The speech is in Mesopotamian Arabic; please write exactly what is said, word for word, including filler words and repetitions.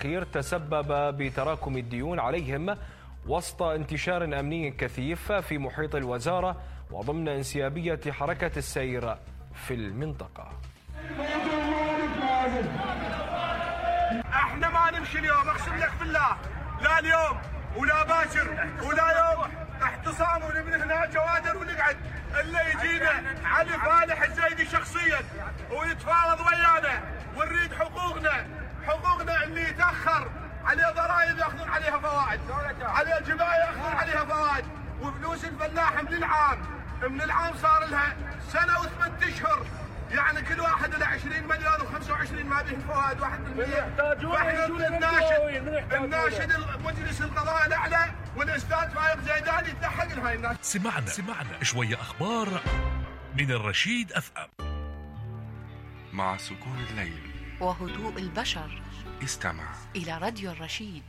الأخير تسبب بتراكم الديون عليهم وسط انتشار أمني كثيف في محيط الوزارة وضمن انسيابية حركة السير في المنطقة. احنا ما نمشي اليوم، اقسم لك بالله، لا اليوم ولا باكر ولا يوم احتصام ونبني هنا جوادر ونقعد الا يجينا علي فالح الزيدي شخصيا ويتفاوض ويانا ونريد حقوقنا، حقوقنا اللي يتاخر عليه ضرائب ياخذون عليها فوائد، عليه جبايه ياخذون عليها فوائد، وفلوس الفلاح من العام من العام صار لها سنه وثمان اشهر، يعني كل واحد له عشرين مليون وخمسة وعشرين ما به فوائد واحد بالمية. فاحنا الناشد الناشد مجلس القضاء الاعلى والاستاذ فايق زيدان يتلحق لهاي الناس. سمعنا سمعنا شويه اخبار من الرشيد اف ام. مع سكون الليل وهدوء البشر استمع إلى راديو الرشيد.